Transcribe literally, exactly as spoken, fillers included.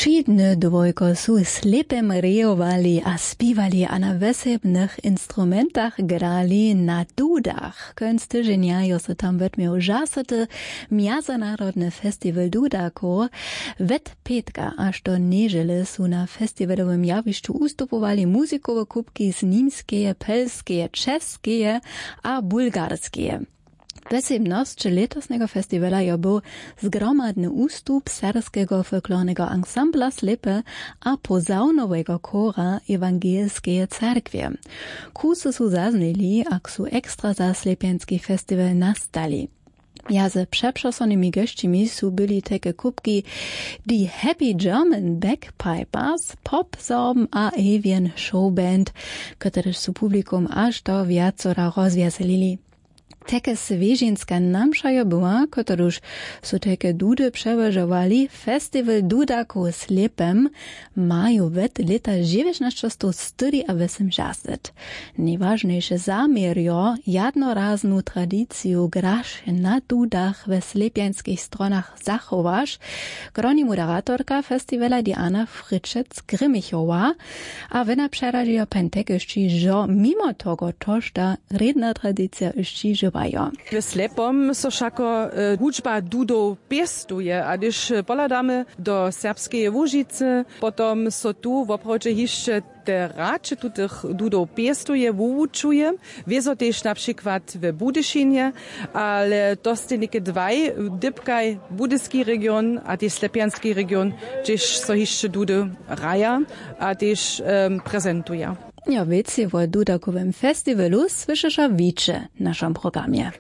Wšědny dwojko su slěpem rejowali a spiwali a na wjesebnych instrumentach grali na dudach. Kónc tyźenja jo so tam wetměł žasoty mjazonarodny festiwal dudakow. Wet pětka až do nježele su na festiwalowym jawišću ustupowali muzikowe kubki z nimskeje, pelskeje, českeje a bulgarskeje. Wjesebnosć lětosneho festiwala jo był zgromadny ustup serbskeho folklorneho ansambla slěpe a pozawnowego chora ewangelskeje cerkwje. Kusy su zaznili ak su ekstra za slěpjanski festiwal nastali. Mjaze přepřosonymi gesćimi su byli teke kubki, the happy german backpipers, pop sorbm a avian showband, kotrež su publikum až do wjacora rozwjeselili. Teke swěžinska namša jo była, kotrež su teke dudy přełožowali. Festiwal dudakow slěpem maju wet lěta žewjećnašćastow styri a wjesym žastet. Nejwažnejše zaměrjo, jadnoraznu tradiciju graš na dudach we slěpjanskich stronach zachowaš, kroni moderatorka festiwala diana fričec grimmichowa. A wena přeradźejo pentekešći žo mimo toho tožda rědna tradicija yšći žiwajo. W slepom so wšako hudźba dudow pěstuje a hdyž pohladamy do serbskeje łužicy, potom so tu woprawdźe hišće te hraće tutych dudow pěstuje wuwučuje. Wězo tež na přikład w budyšinje, ale to stej něke dwaj, dypkaj budyski region a tež slepjanski region, hdźež so hišće dudy hraja a tež prezentuja. Jo, wěcej wo dudakowym festiwalu słyšeša wiće w našom programje.